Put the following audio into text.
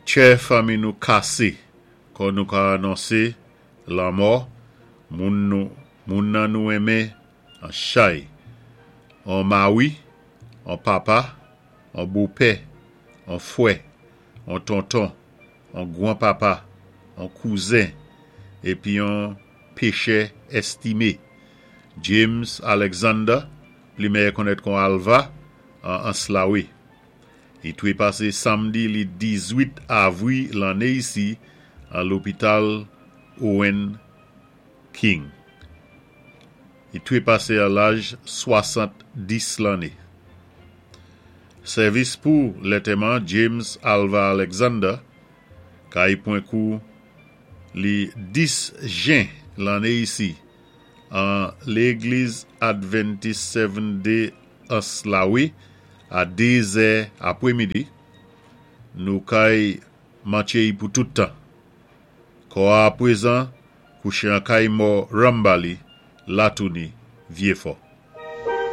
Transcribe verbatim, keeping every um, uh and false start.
Tjè fanmi nou kasé kon nou ka anonsé lanmò moun nou moun nan nou enmen an chay, an mawi, an papa, an bopè, an fwè, an tonton, an gwan-papa, an kouzen, épi an péchè èstimé. James Alexander, pli mèyè konnèt kon Alva, an Anse-La-Raye. I twé pasé samdi li dizwit avwi lanné isi an lopital Owen King. I twé pasé a laj swasann-dis lanné. Sèvis pou lantèman James Alva Alexander kay pwan kou li dis jen lanné isi an Légliz Adventis Seventh Day Anse-La-Raye a dé zè apwémidi. Nou kay mantjé-y pou tout tan. Kò a apwézan kouché an kay mò Rambali, Latouni, Vyéfò.